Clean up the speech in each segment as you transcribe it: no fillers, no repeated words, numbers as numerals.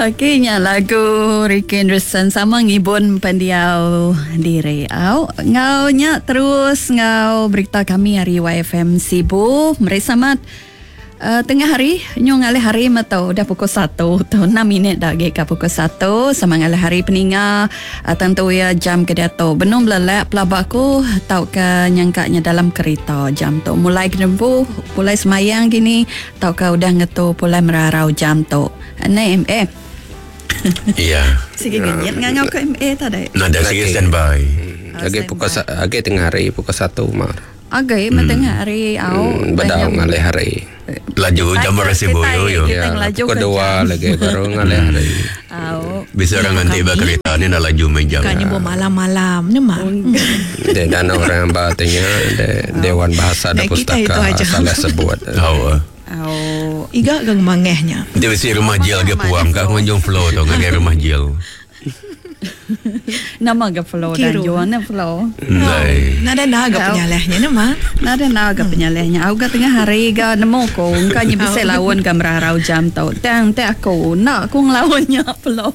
Okey nya lagu Ricky Anderson sama ngibun pendiau diri. Au enggau nya terus enggau berita kami ari YFM Sibu. Meri selamat uh, tengah hari nyu ngalih hari meh tu udah pukul 1 tu 6 minit dah agi ka pukul 1 sama ngalih hari peninga uh, tentu iya jam ke diatu benung belelak pelaba aku tauka nyangka nya dalam kerita jam tu mulai ke nempu pulai semayang gini tauka udah ngetu pulai merarau jam tu. Neh MA. Iya. Sigi ngenyit ngangau ke MA tadi. Nadai sigi standby. Agi pukul agi tengah hari pukul satu mah. Agi meh tengah hari au. Bedau ngalih hari. Laju jam beresi boyo yo. Ya, pukul dua lagi baru ngalih hari. Au. Bisa orang nganti ba kereta ni enda laju meh jam. Ka nyebut malam-malam nya mah. Deh dan orang ba tanya Dewan Bahasa dan Pustaka salah sebut. Au. Au. Iga ga ngemangah nya. Enti bisi rumah jil ga puang ka ngunjung flow tu ngagai rumah jil. Nama ga flow dan juan ne flow. Ndai. Nadai enda ga penyalah nya nama. Nadai enda ga penyalah nya. Au ga tengah hari ga nemu ku engka nya bisi laun ga merarau jam tu. Tang enti aku enda ku ngelaun nya flow.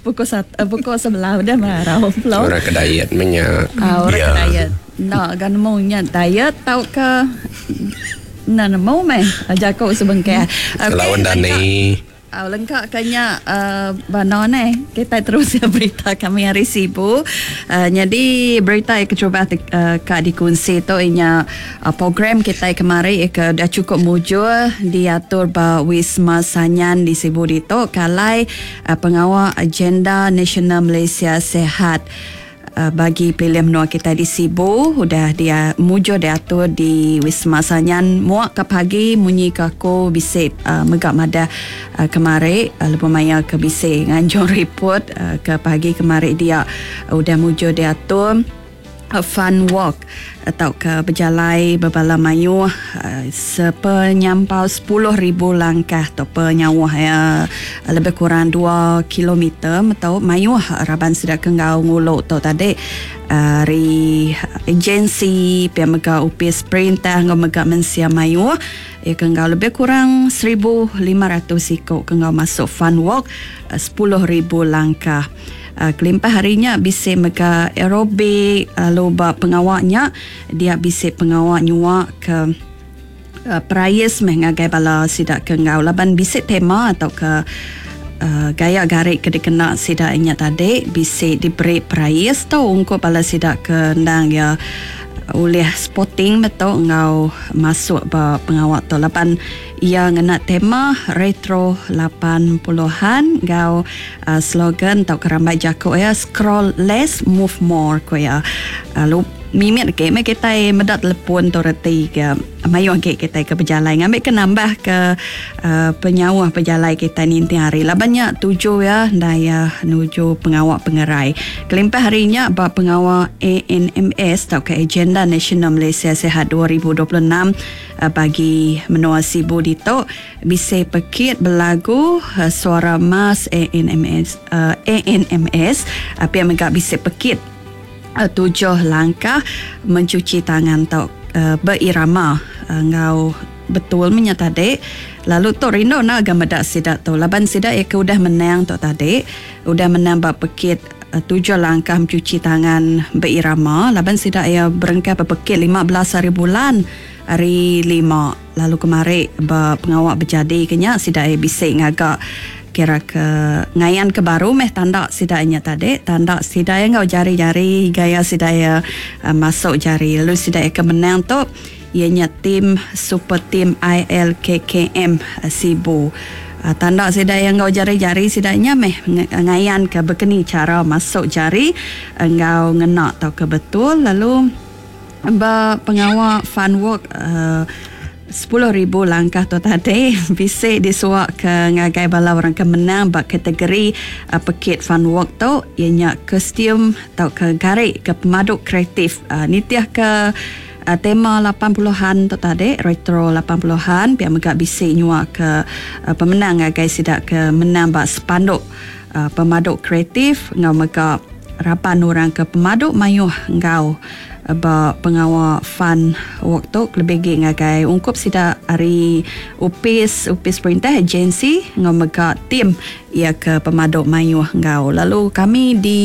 Pukul satu pukul sebelah udah merarau flow. Orang ke diet meh nya. Au orang ke diet. Enda ga nemu nya diet tauka enda nemu meh jaku sebengkah. Okey Laun dani. Au lengka ka nya uhh bano neh kitai terus iya berita kami ari Sibu. Uhh nyadi berita iya keterubah ti uhh ka dikunsi tu iya nya program kitai kemari ke udah chukup mujur diatur ba Wisma Sanyan di Sibu ditu ke alai pengawa Agenda Nasional Malaysia Sihat. Bagi pelilih menua kitai di Sibu udah dia mujur diatur di Wisma Sanyan muak ka pagi munyi ke aku bisi mega madah kemari lebuh maya ke bisi nganjung report ke pagi kemari dia udah mujur diatur fun walk tauka bejalai bebala mayuh sepenyampau 10,000 langkah tu penyauh iya lebih kurang dua kilometer meto mayuh raban sida ke enggau ngulu tu tadi ari agensi pia mega opis perintah enggau mega mensia mayuh iya ke enggau lebih kurang 1500 iku ke enggau masuk fun walk 10,000 langkah. Kelimpah ari nya bisi mega aerobik lalu ba pengawa nya dia bisi pengawa nyua ke perais meh ngagai bala sida ke enggau laban bisi tema tauka gaya gari ke dikena sida nya tadi bisi diberi perais tu ungkup bala sida ke endang iya ulih sporting meh tu enggau masuk ba pengawa tu laban iya ngena tema retro 80-an enggau Slogan tauka rambai jaku iya scroll less move more ku iya. Lalu mimit agi meh kitai meda telepon tu reti ke mayuh agi kitai ke bejalai ngambika nambahka penyauh pejalai kitai ninting hari laban nya tuju iya endang iya nuju pengawa pengerai. Kelimpah ari nya ba pengawa ANMS tauka Agenda Nasional Malaysia Sihat 2026 bagi menua Sibu ditu, Bisi pekit belagu Suara Emas ANMS ANMS pia mega bisi pekit tujuh langkah mencuci tangan tau beirama enggau betul meh nya tadi lalu tu rindu enda ga meda sida tu laban sida iya ke udah menang tu tadi udah menang ba pekit tujuh langkah mencuci tangan beirama laban sida iya berengkah bepekit 15 hari bulan hari lima. Lalu kemari ba pengawa bejadi ke nya sida iya bisi ngaga kira ke ngayan ke baru meh tanda sida iya nya tadi tanda sida iya enggau jari-jari gaya sida iya masuk jari lalu sida iya ke menang tu iya nya team super team ILKKM Sibu. Tanda sida iya enggau jari-jari sida nya meh ngayan ke bekeni chara masuk jari enggau ngena tauka betul lalu Ba pengawa fun walk 10,000 langkah tu tadi bisi disuaka ngagai bala orang ke menang ba kategori pekit fun walk tu iya nya kostum tauka gari ke pemadu kreatif nitihka tema lapan puluhan tu tadi retro lapan puluhan pia mega bisi nyuaka pemenang ngagai sida ke menang ba sepanduk pemadu kreatif enggau mega raban orang ke pemadu mayuh enggau. Ba pengawa fun walk tu kelebih agi ngagai ungkup sida ari opis opis perintah agensi enggau mega tim iya ke pemadu mayuh enggau lalu kami di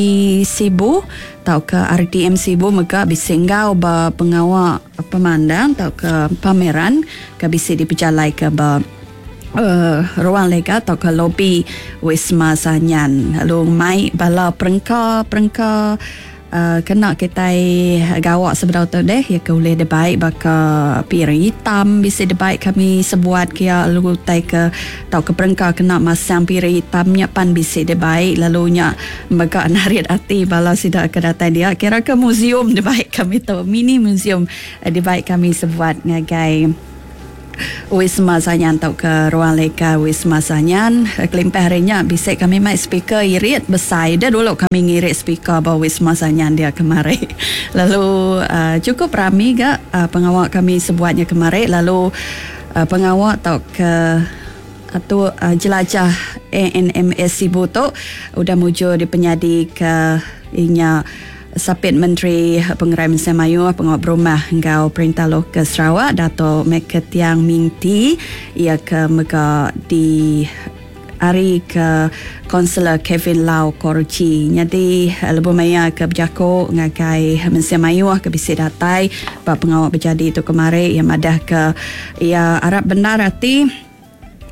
Sibu tauka RTM Sibu mega bisi enggau ba pengawa pemandang tauka pameran ke bisi dipejalaika ba ruang lega tauka lobi Wisma Sanyan lalu mai bala perengka-perengka kena kitai gawa sebedau tu deh iya ke ulih dibai baka piring hitam bisi dibai kami sebuat kia lalu utai ke tauka perengka kena masang piring hitam nya pan bisi dibai lalu nya mega narit ati bala sida ke datai dia kira ke museum dibai kami tu mini museum dibai kami sebuat ngagai Wisma Sanyan tauka Ruang Leka Wisma Sanyan. Kelimpah ari nya bisi kami mai speaker irit besai deh dulu kami ngirit speaker ba Wisma Sanyan dia kemari. Lalu chukup rami ga pengawa kami sebuat nya kemari lalu pengawa tauka atur jelajah ANMS Sibu tu udah mujur dipenyadika inya Sapit Menteri Pengerai Mensia Mayuh, Pengawa Berumah enggau Perintah Lokal Sarawak, Dato Michael Tiang Ming Tee, iya ke mega di ari ke Konselor Kevin Lau Korji. Nyadi lebuh maya ke bejaku ngagai mensia mayuh ke bisi datai ba pengawa bejadi tu kemari, iya madahka iya arap bendar ati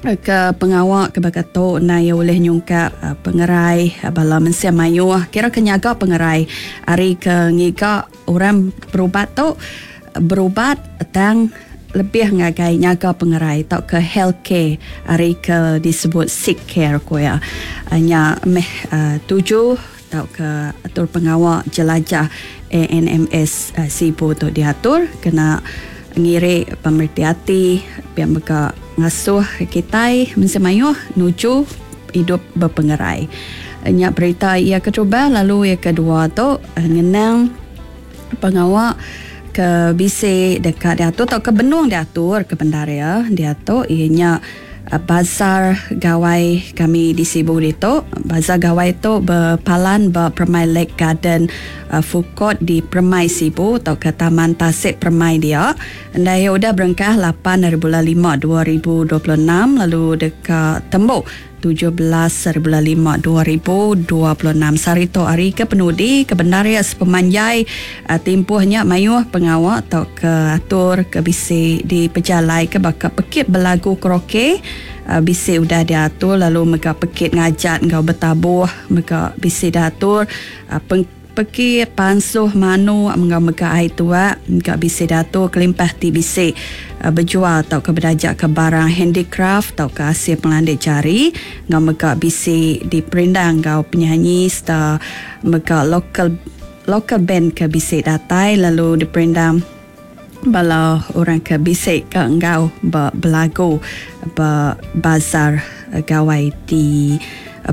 Ke pengawa ke baka tu endang iya ulih nyungkak pengerai bala mensia mayuh kira ke nyaga pengerai ari ke ngiga orang berubat tu berubat tang lebih ngagai nyaga pengerai tauka health care ari ke disebut sick care ku iya. Nya meh tuju tauka atur pengawa jelajah ANMS Sibu tu diatur kena ngiri pemereti ati pia mega ngasuh kitai mensia mayuh nuju idup bepengerai. Nya berita iya keterubah lalu iya kedua tu ngenang pengawa ke bisi deka diatur tauka benung diatur ke bendar iya diatu iya nya Bazar Gawai kami di Sibu ditu. Bazar Gawai tu bepalan ba Permai Lake Garden Food Court di Permai Sibu tauka Taman Tasik Permai dia. Endai iya udah berengkah lapan ari bulan lima 2026 lalu deka tembu 17 ari bulan lima 2026. Sehari tu hari ke penudi ke bendar iya sepemanjai Timpuh nya mayuh pengawa tauka atur ke bisi dipejalaika baka pekit belagu karaoke bisi udah diatur lalu mega pekit ngajat enggau betabuh mega bisi diatur. Pekit pansuh manuk enggau mega ai tuak mega bisi diatur kelimpah ti bisi bejual tauka bedajaka barang handicraft tauka asil pengelandik jari enggau mega bisi diperindang enggau penyanyi sereta mega local Local band ke bisi datai lalu diperindang bala orang ke bisi ka enggau ba belagu ba bazar gawai di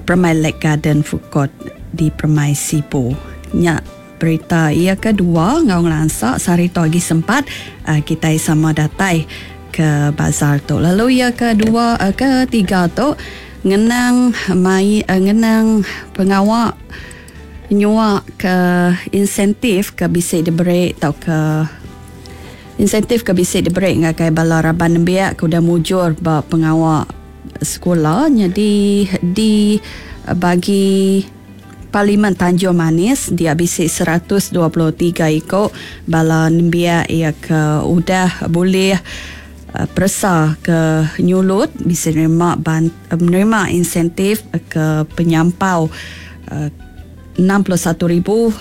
Permai Lake Garden Food Court di Permai Sibu. Nya berita iya ke dua enggau ngelansa sehari tu agi sempat kitai sama datai ke bazar tu. Lalu iya ke dua ke tiga tu ngenang mai ngenang pengawa Nyua ke insentif ke bisi diberi tauka insentif ke bisi diberi ngagai bala raban nembiak ke udah mujur ba pengawa sekula nyadi di bagi Parlimen Tanjung Manis dia bisi 123 iku bala nembiak iya ke udah bulih peresa ke nyulut bisi nerima nerima insentif ke penyampau 61,500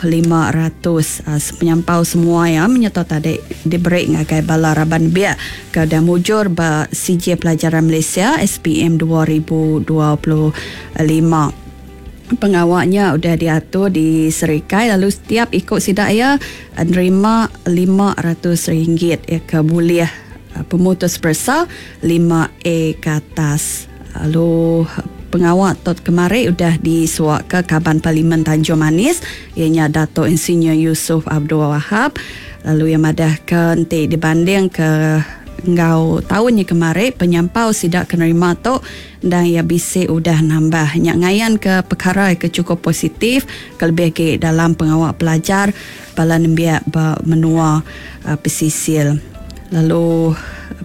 sepenyampau semua iya menyerta tadi diberi ngagai bala raban biak ke udah mujur ba Sijil Pelajaran Malaysia, SPM, 2025. Pengawa nya udah diatur di Serikai lalu setiap iku sida iya nerima RM500 iya ke bulih pemutus peresa 5A ke atas. Lalu pengawa tu kemari udah disuaka Kaban Parlimen Tanjung Manis iya nya Dato Insinyur Yusuf Abdul Wahab lalu iya madahka enti dibandingka Enggau taun nya kemari penyampau sida ke nerima tu endang iya bisi udah nambah. Nya ngayanka pekara ke chukup positif kelebih agi dalam pengawa pelajar bala nembiak ba menua pesisir. Lalu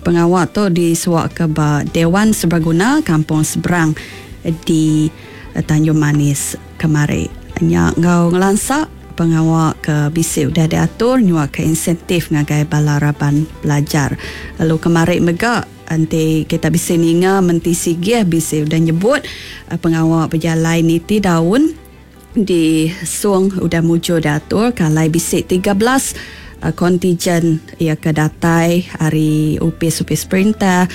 pengawa tu disuaka ba Dewan Seberaguna Kampung Seberang di Tanjung Manis kemari. Nya enggau ngelansa pengawa ke bisi udah diatur nyuaka insentif ngagai bala raban pelajar. Lalu kemari mega enti kita bisi ninga Menti Sigih bisi udah nyebut pengawa bejalai niti daun di Song udah mujur diatur ke alai bisi 13 kontijen iya ke datai ari opis-opis perintah,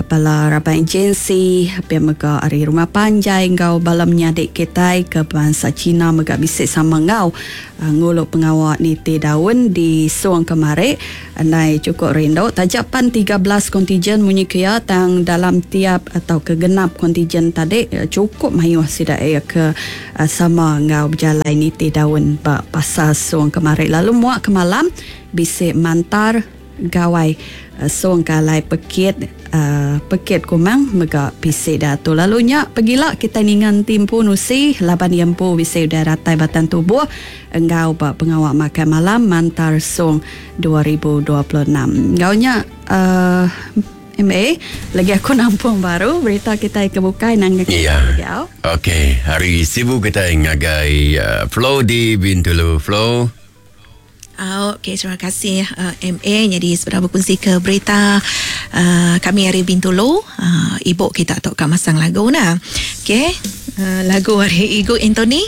bala raban agensi, pia mega ari rumah panjai enggau bala menyadi kitai ke bansa Cina mega bisi sama enggau ngulu pengawa niti daun di Song kemari. Endai chukup rindu taja pan 13 kontijen munyi ke iya tang dalam tiap tauka genap kontijen tadi chukup mayuh sida iya ke sama enggau bejalai niti daun ba pasar Song kemari. Lalu muak ke malam bisi mantar Gawai Song ke alai pekit pekit kumang mega bisi diatur. Lalu nya pegila kitai ninga enti empu nusi laban iya empu bisi udah datai batang tubuh enggau ba pengawa makai malam Mantar Song 2026. Enggau nya uhh MA lagi aku nampung baru berita kitai ke bukai nang Iya. Okey, hari Sibu kitai ngagai Flo di Bintulu. Flo. Au, okey terima kasih uh, MA jadi sebedau berkongsi ke berita uh, kami hari Bintulu uh, ibu kita tu ka masang lagu nah. Okey, uh, lagu hari Igu Anthony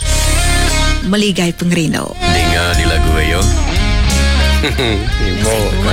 Meligai Pengerindu. Dengar di lagu ayo. Ibu.